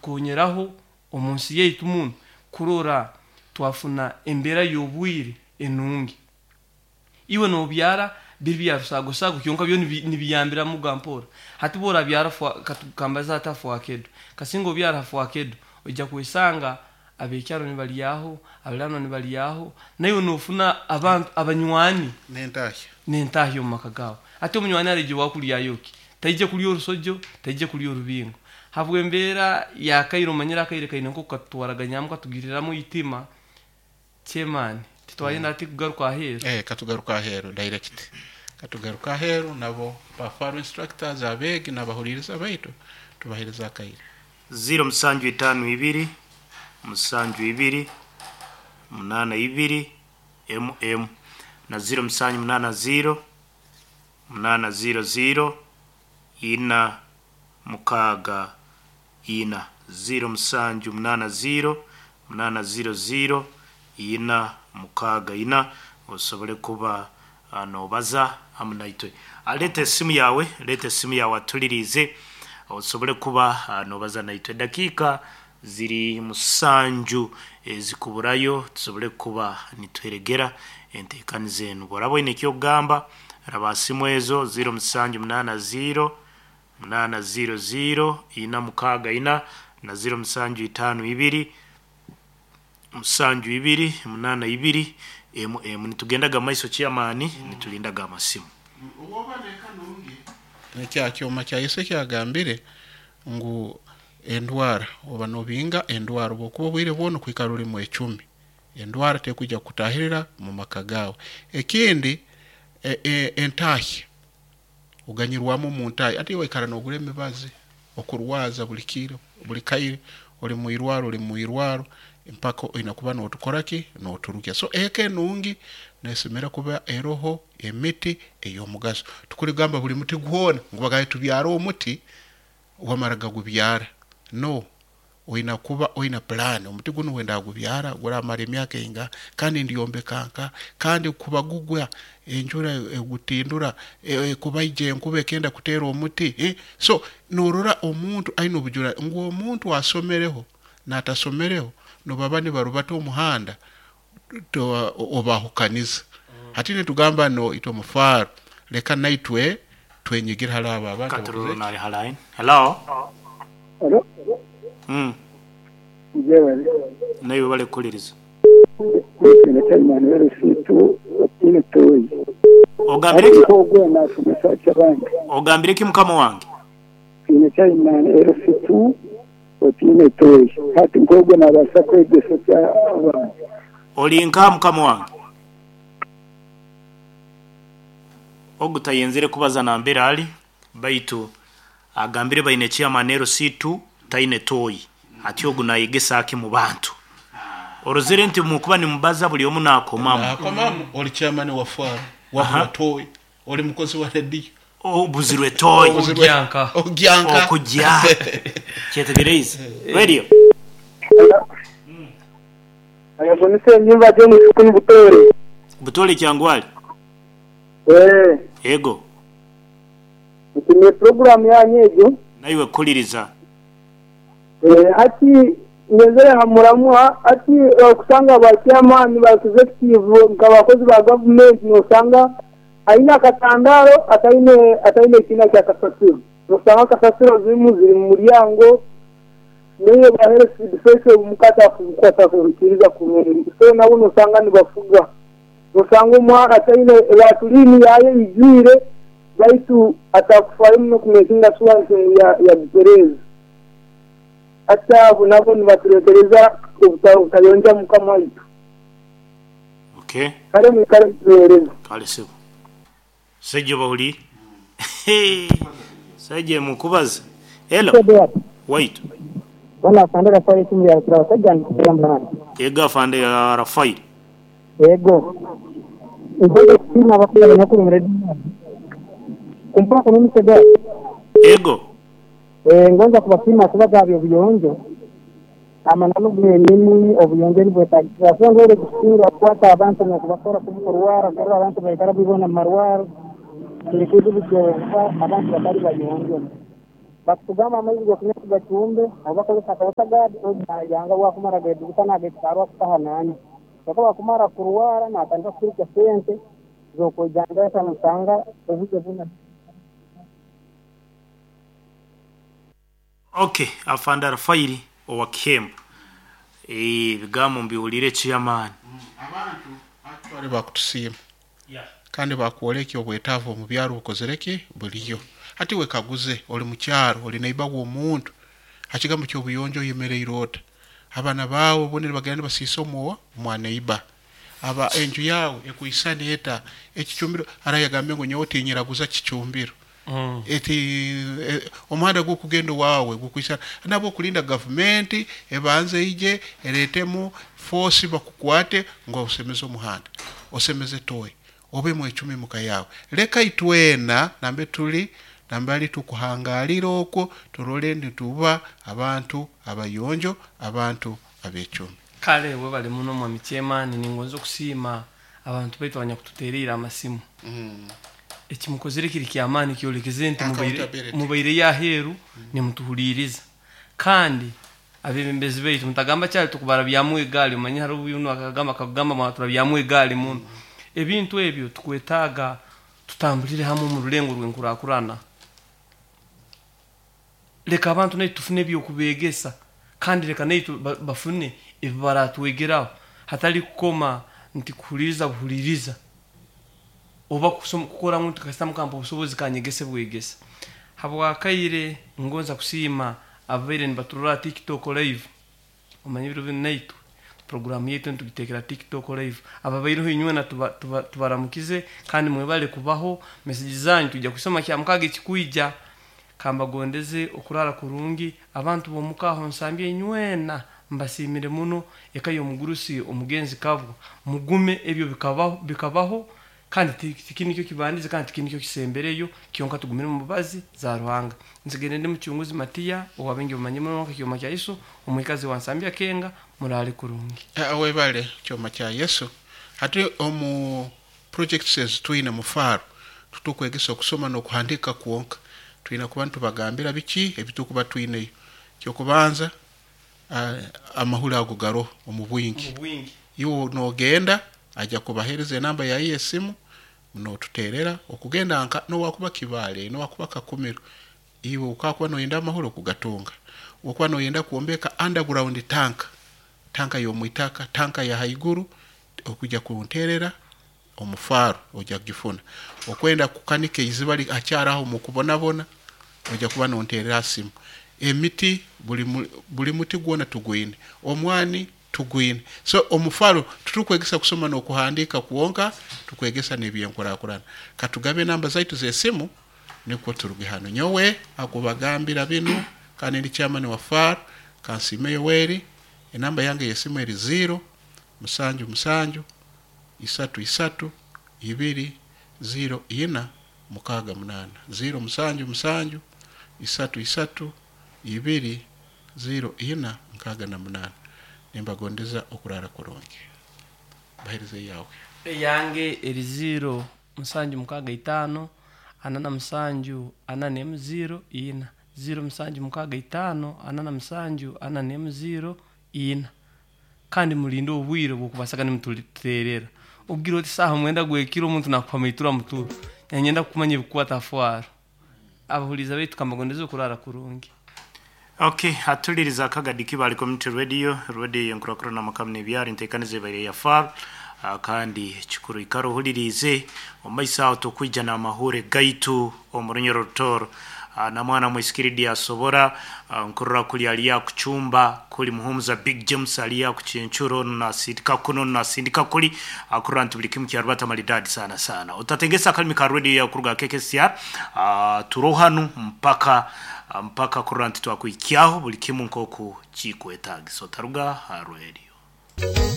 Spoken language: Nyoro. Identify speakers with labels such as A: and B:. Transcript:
A: Kukonyeraho omu nsi yaitu muno kurora twafuna embeera y'obwire enungi. Iwe nobyara biri bya rusaagosago kyonka byo nibiyambiramuga mpora. Hati bworabyara kambaze hati ha fwakedo, kasinga obyara ha fwakedo oija kwesanga abekyaro nibalyaho, abaliraanwa nibalyaho, naiwe nofuna abantu abanywani
B: N'entahya.
A: N'entahya omu maka gaawe. Hati omunywani araija owaawe kulyayo ki? Taija kulya orusojo, taija kulya orubingo. Habw'embeera y'akaire omanyire akaire kaine nk'oku katutwaraganyaamu katugiriramu eitima, chairman, titwayenda hati kugaruka aheeru.
B: Eh, katugaruke aheeru direct. Katugaruke aheeru nabo ba Faro instructors, abeegi n'abahuliiriza baitu tubaheereze akaire.
C: Ziro musanju itaano ibiri, musanju ibiri, munaana ibiri, emu emu na ziro musanju munaana ziro, munaana ziro ziro, ina mukaaga ina. Ziro musanju munaana ziro, munaana ziro ziro, ina mukaaga ina osobole kuba nobaza hamu naitwe. Leeta esimu yaawe, leeta esimu yaawe atuliriize osobole kuba nobaza naitwe. Edakiika ziri musanju ezikuburayo tusobole kuba nituheregera enteekaniza enu. Obu oraaba oine eky'okugamba, raba ha simu ezo ziro musanju munaana ziro, munaana ziro ziro, ina mukaaga ina na ziro musanju itaano ibiri, musanju ibiri, munaana ibiri, emu emu. Nitugendaga mumaiso chairman, nitulindaga amasimu.
B: Obwoba n'eka nungi, nekya kyoma kya Yesu ekyagambire ngu endwara oba nobinga endwara obwokuba obwire bwona okwikara ori mwecumi, endwara tekwija kukutahirira mu maka gaawe. Ekindi entahya, oganyirwamu omu ntahya, hati waikara nogura emibazi okurwaza buli kiro, buli kaire, ori mwirwaro, ori mwirwaro mpaka oine kuba notukora ki, noturugya. So eka enungi nesemera kuba eroho emiti ey'omugaso. Tukurigamba buli muti gwona ngu bagaye tubyare omuti, wamara gagubyara. No, oine kuba oine plan, omuti gunu wendagubyara guramara emyaka eingaha, kandi ndyombeka nka, kandi kuba gugwa enjura egutindura, kubaija enkuba ekenda kuteera omuti. So norora omuntu aine obujura ngu omuntu asomereho n'atasomereho nobaba nibarubata omuhanda obahukaniza. Hati nitugamba no itwe omufaaro leka naitwe twenyigire hali abo abantu
C: Katururu
B: abakozire ki?
C: nali ha line. Hello.
D: Hello. Mwebale.
C: Naiwe webale kuhuliriza.
D: Nitwine chairman w'erusitu otiine toyi.
C: Ogambire ki?
D: Hati nk'ogwo nashomesa ki abandi?
C: Ogambire ki mukama wange?
D: Twine chairman LC2 otiine toyi. Hati nk'ogwo nabaasa kwegyesa ki abandi?
C: Ori nkaha mukama wange? Ogu tayenzire kubaza nambere ali baitu agambire baine chairman LC2 taine toyi. Hati ogu nayegesa ki mu bantu? Orozere nti mukuba nimubaza buli omu nakomamu.
B: Nakomamu, ori chairman wa faro, wabura toyi. Oli mukozi wa rediyo.
C: Obuzirwe toyi.
A: Ogya nka.
B: Ogya nka.
C: Okugya. Kyetegereize. Radio.
D: Yego ni Ssenyimba James kunu Butoore.
C: Butoore Kyangwali.
D: Eeh.
C: Yego.
D: Nsiimire puroguraamu yanyu egyo.
C: Naiwe kuhuliriza.
D: Eeh hati ngenzere ha muramwa hati okusanga ba chairman ba executive nka bakozi ba gavumenti nosanga aine akatandaaro ataine ataine ekiina kya kasasiro. Nosanga kasasiro ezimu ziri mu muryango naye ba health defense omuka atakuhikiriza kurungi so nabo nosanga nibafuga. Nosanga omwana ataine latulini yaayo eijwire baitu atakufaayo muno kumekinga shuwa nti ngu yagitereeza. Hati abo nabo nibatureetereza obutayonja muka mwaitu.
C: Okay.
D: Kale mwikale mutuheereze.
C: Kale sebo. Saija oba oli Saija mukubaza. Hello. Waitu.
E: Bwana Afande Rafael esimu ya Rukirabashaija ndikugamba hanu.
C: Ego Afande Rafael.
E: Ego. Nkwenda kusiima abakuza abanyakuli omu rediyo egi. Kumpa kunumisega.
C: Ego.
E: Ngonza kubasiima kubaza aha by'obuyonjo. Amananu genyini obuyonjo nibwetagisa. So endwaire ezikusinga kukwata abantu n'okubakora kubi kurwara, kurora abantu baikara buli boona mu marwaro, kiri kizibu kyonka abantu batali bayonjo. Bakutugamba amaizi g'okunywa tugacumbe, oba bakozesa akawatagadi, nayanga bwakumara geduguta nagekitarwa kutaha nanywa. Kyokka bwakumara kurwara natandika kuturukya sente z'okwejanjabisa nosanga obwire buna.
C: Okay, afande Rafairi owa Kihembo, ebigambo mbiwulire chairman.
B: Abantu actually bakutusiima kandi bakwoleka obwetaavu omu byaro bukozere ki buliyo. Hati wekaguze, oli mukyaro, oli neighbor w'omuntu, ha kigambo ky'obuyonjo oyemereire ota? Abaana baawe bo nibagenda nibasiisa omwowa mwa neighbor. Aba enju yawe ekwisana eta? Ekicumbiro arayagambye ngu nyowe tinyiraguza kicumbiro. Eti omuhanda gukugenda wawe gukwisana nabwo okulinda gavumenti ebanze ije eretemu force bakukwate ngo osemeze omuhanda, osemeze toyi, obe mwecumi muka yawe. Leka itwena nambe tuli nambali tukuhangalira okwo turole nituba abantu abayonjo, abantu abecumi.
A: Kale webale muno mwami chairman, ningonza okusiima abantu baitu abanyakututereire amasimu. Ekimukozere kiri kyamaani, kyolekeze nti
B: Accountability.
A: Mubaire yaheeru nimutuhuliriza. Kandi abebembezi baitu mutagamba kyali tukubarabyamu egaali, omanye hariho obu akagamba akagamba mwaturabyamu egaali muno. Ebintu ebyo tukwetaaga tutambulire hamwe omu rulengo rw'enkurakurana. Leka abantu naitu tufune ebyokubegesa, kandi leka naitu bafune ebi baratwegeraho, hatali kukoma nti kuhuliriza buhuliriza oba kukora ngu kasita mukampa obusobozi kanyegese bwegesa. Habwakaire ngonza kusiima ababaire nibaturora TikTok live. Omanye ebiro binu naitwe programu yaitu nitugitekera TikTok live. Ababaireho inywena tubaramukize kandi mwebale kubaho. Message zanyu tujja kusoma kya mukaga ekikwija. Kambagondeze okurara kurungi. Abantu b'omukaho nsambye inywena mbasiimire muno. Eka y'omugurusi omugenzi Kabwa, mugume, ebyo bikabaho kandi tiki nikyo kibandize kandi tiki nikyo kisembereyo, kyonka tugumire mu mbabazi za Ruhanga. Nsigende ndi mucunguzi Matiya owabengi bamanye muno nka kyoma kya Yesu, omwikazi wa Nsambya Kenga. Murale kurungi.
B: Webale kyoma kya Yesu. Hati omu projects ezitwine mu FARU tutukwegesa okusoma n'okuhandika kwonka, twine kuba nitubagambira biki ebitukuba twineyo. Kyokubanza, amahuri ago garoho omu bwingi.
A: Omu bwingi.
B: Iwe nogenda ajja kubahereza enamba yawe y'esimu, notuterera okugenda nka nowakuba Kibaale, nowakuba Kakumiro, iwe ukakuba noyenda amahuri okugatunga. Okuba noyenda kwombeka underground tank, tanka y'omwitaka, tanka ya haiguru, okujja kunterera omufaaro ojja kugifuna. Okwenda kukanika eiziba akyaraho mukubonabona, ojja kuba nonterera simu. Emiti buli muti gwona tugwine, omwani tugwine. So omufaro tutukwegesa kusoma n'okuhandika kwonka, tukwegesa n'ebyenkurakurana. Katugabe enamba zaitu z'esimu nikwo turuge hano. Nyowe akubagambira binu kandi ndi chairman wa FAR Kansiime Yoweri. Enamba yange y'esimu eri 0 7 7 3 3 2 0 4 6 8, 0 7 7 3 3 2 0 4 6 8. Nimbagondeza okurara kurungi. Bahereze yawe.
A: Eyange eri 0 7 6 5 47 4 0 4, 0 7 6 5 47 4 0 4. Kandi mulinde obwire bw'okubasaga nimututerera. Ogira oti saha 9 gwekiro omuntu nakupa itura muturo, nyenda kumanya ebikwata fwaro. Abahuliza baitu kambagondeza okurara kurungi.
C: Okay, atuliriza akagadi Kibale Community Radio, radio yenkurakurana makamu n'ebyaro, enteekaniza ebaire ya FAR. Kandi kikuru ikara ohulirize omumaiso aho tukwija n'amahure gaitu omu Runyoro Rutoro. Na mwana mwisikiridi asobora nkurora kuli aliya kuchumba kuli Muhumuza Big James aliya kuchenchuro nasindika kuno nasindika kuli akurora nti buli kimu kyarubata maridadi sana sana. Utatengesa akalimi ka radio ya kuruga KKCR, turohanu mpaka kurora nti twakuikyaho buli kimu nkoku chikwetagisa. Otaruga ha radio.